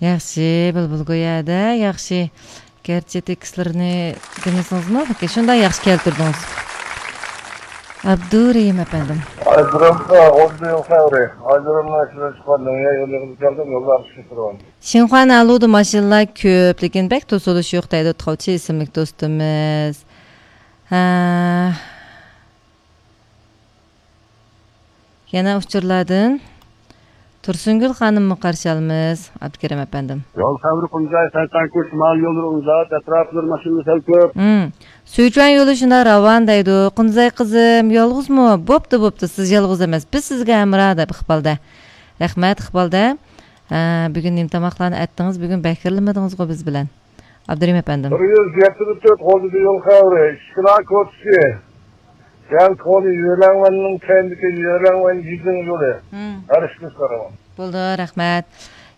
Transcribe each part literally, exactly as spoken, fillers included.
ياخشى، بۇلبۇل گويادا، ياخشى. گەرچە تېكىستلىرىنى دېمىسىڭىزمۇ، لېكىن شۇنداق ياخشى كەلتۈردىڭىز. ئابدۇرېھىم ئەپەندىم. ئايجۇرۇمغا ئون يىل خەۋىرى. ئايجۇرۇمنىڭ ئىچىدىن چىققان دۇنيا يولىغا كەلدىم، يوللار ئىشقا كىرىۋالدىم. شىنخۇا نەلۇدە ماشىنىلار كۆپ، لېكىن بەك توسۇلۇش يوق دەيدۇ تاۋچى ئىسىملىك دوستىمىز. ھە. يەنە ئۇچۇرلاردىن تۇرسۇنگۈل خانىممۇ قارشى ئالىمىز، ئابدۇكېرىم ئەپەندىم. يول خەۋىرى قۇمجاي، سەيتانكوش، شىمال يوللىرى ئۇزاق، ئەتراپلىرى ماشىنىلار سەل كۆپ. ھىم. سۈيچۈەن يولى شۇنداق راۋان دەيدۇ. قۇنزاي قىزىم، يالغۇزمۇ؟ بوپتۇ، بوپتۇ، سىز يالغۇز ئەمەس. بىز سىزگە ھەمراھ دەپ ئىقبالدا. رەھمەت، ئىقبالدا. ھە، بۈگۈن نېمە تاماقلارنى ئەتتىڭىز؟ بۈگۈن بەكرىلىمىدىڭىزغۇ بىز بىلەن. ئابدۇرېھىم ئەپەندىم. بىر يۈز يەتتە تۆت غۇلجىدا يول خەۋىرى، ئىشكىنا كوچىسى، يەنى كونا يۆلەڭۋەننىڭ كەينىدىكى يۆلەڭۋەن يىزىڭ يولى. ھىم. ھەر ئىشنى سوراڭ. بولدى، رەھمەت.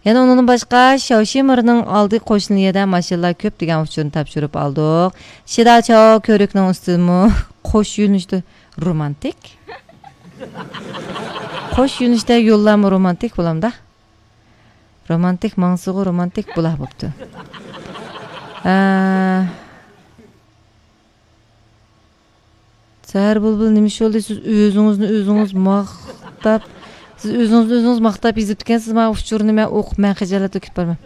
يەنە ئۇنىڭدىن باشقا، شياۋشىمىرنىڭ ئالدى قوشنا يەردە ماشىنىلار كۆپ دېگەن ئۇچۇرنى تاپشۇرۇپ ئالدۇق. شىداچاۋ كۆۋرۈكنىڭ ئۈستىدىمۇ قوش يۆنىلىشتە رومانتىك. قوش يۆنىلىشتە يوللارمۇ رومانتىك بولامدا؟ رومانتىك ماڭسىغۇ، رومانتىك بۇلاق بوپتۇ. ھە. سەھەر بۇلبۇل، نېمە ئىش بولدى؟ سىز ئۆزىڭىزنى ئۆزىڭىز ماختاپ، سىز ئۆزىڭىزنى ئۆزىڭىز ماختاپ يېزىپتىكەنسىز، مانا ئۇچۇرنى مەن ئوقۇپ، مەن خىجالەتتە كېتىپ بارىمەن.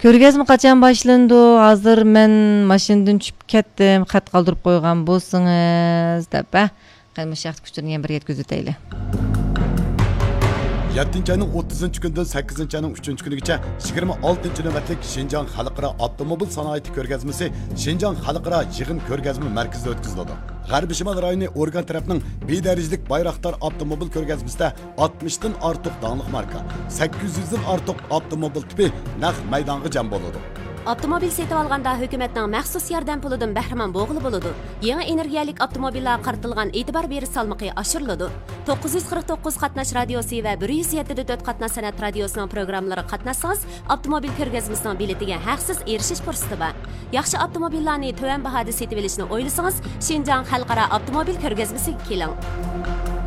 كۆرگەزمە قاچان باشلىنىدۇ؟ ھازىر مەن ماشىنىدىن چۈشۈپ كەتتىم، خەت قالدۇرۇپ قويغان بولسىڭىز، دەپ، ھە؟ قېنى، مۇشۇ ھەقتىكى ئۇچۇرنى يەنە بىر يەتكۈزۈۋېتەيلى. يەتتىنچى ئاينىڭ ئوتتۇزىنچى كۈنىدىن سەككىزىنچى ئاينىڭ ئۈچىنچى كۈنىگىچە يىگىرمە ئالتىنچى نۆۋەتلىك شىنجاڭ خەلقئارا ئاپتوموبىل سانائىتى كۆرگەزمىسى شىنجاڭ خەلقئارا يىغىن كۆرگەزمە مەركىزىدە ئۆتكۈزۈلىدۇ. غەربىي شىمال رايونى ئورگان تەرەپنىڭ بىدەرىجىلىك بايراقدار ئاپتوموبىل كۆرگەزمىسىدە ئاتمىشتىن ئارتۇق داڭلىق ماركا، سەككىز يۈزدىن ئارتۇق ئاپتوموبىل تىپى نەق مەيدانغا جەم بولىدۇ. ئاپتوموبىل سېتىۋالغاندا ھۆكۈمەتنىڭ مەخسۇس ياردەم پۇلىدىن بەھرىمەن بولغىلى بولىدۇ. يېڭى ئېنېرگىيەلىك ئاپتوموبىللارغا قارىتىلغان ئېتىبار بېرىش سالمىقى ئاشۇرۇلىدۇ. توققۇز يۈز قىرىق توققۇز قاتناش رادىيوسى ۋە بىر يۈز يەتتە دە تۆت قاتناش سەنئەت رادىيوسىنىڭ پروگراممىلىرىغا قاتناشسىڭىز، ئاپتوموبىل كۆرگەزمىسىنىڭ بېلىتىگە ھەقسىز ئېرىشىش پۇرسىتى بار. ياخشى ئاپتوموبىللارنى تۆۋەن باھادا سېتىۋېلىشنى ئويلىسىڭىز، شىنجاڭ خەلقئارا ئاپتوموبىل كۆرگەزمىسىگە كېلىڭ.